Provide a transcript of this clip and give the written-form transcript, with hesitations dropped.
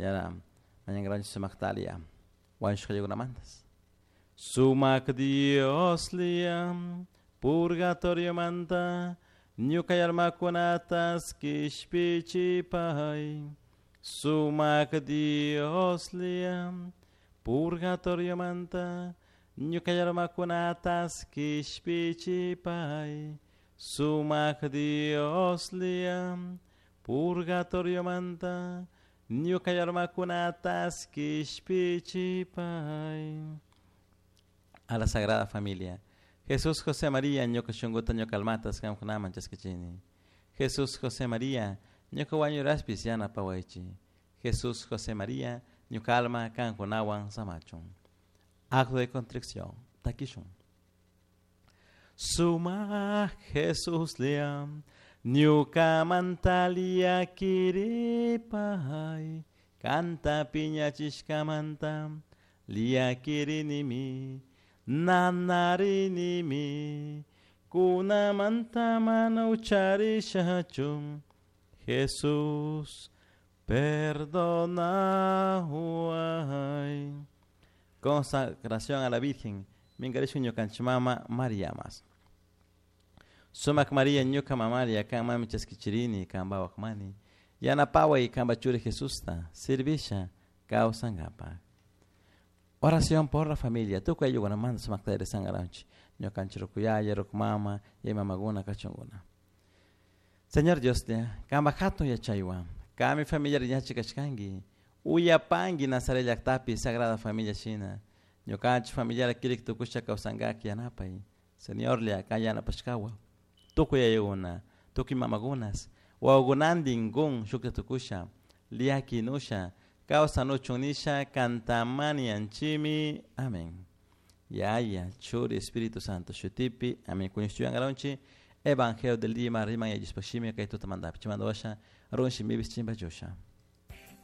Yara mañangaranchik sumaktalia wañushqallakunamantas. Sumak Dioslia purgatoriomanta ñuka almakunatas kishpichipay. Sumak Dioslia purgatoriomanta ñuka almakunatas kishpichipay. Sumak Dioslia purgatoriomanta ñuka almakunatas kishpichipay. A la Sagrada Familia. Jesús José María ñuka shunkuta ñuka almatas qamkunaman chaskichini. Jesús José María ñuka wañuraspis yanapawaychik. Jesús José María ñuka alma kankunawan samachun. Acto de contrición. Takishun. Suma Jesús liam ñukamanta llakiripay kanta piñachishkamanta llakirinimi nanarinimi kunamanta mana ucharishachu Jesús perdonahuay. Consagración a la Virgen minkarishun ñukanchik mama María mas. Sumak María ñuka mamaria kan mami chaskichirini kanpa waqmani yanapaway kanpa churi Jesusta servisha kawsankapaq. Oración por la familia. Tukuy ayllukunamanta sumakta rezankaranchik ñukanchik ruku yaya, ruku mama, yaya mamakuna kachunkuna. Señor Dioslla, kanpa hatun yachaywan, kanmi familiar yachik kashkanki, uyapanki Nazaret llaktapi Sagrada Familia shina, ñukanchik familiar kirik tukusha kawsankak yanapay. Señorlla, kan yanapashkawan, tukuy yayakuna, tukuy mamakunas, wawakunantin kun shukta tukusha, llakinusha, kawsanuchun nisha kantamanianchimi. Amén. Yaya, Churi, Espíritu Santo, shutipi, amén. Kuñushtuyankaranchik, Evangelio del día, riman yallispashimi, kay tutamantapi, chaymanta washa, run shimipis chimpachusha.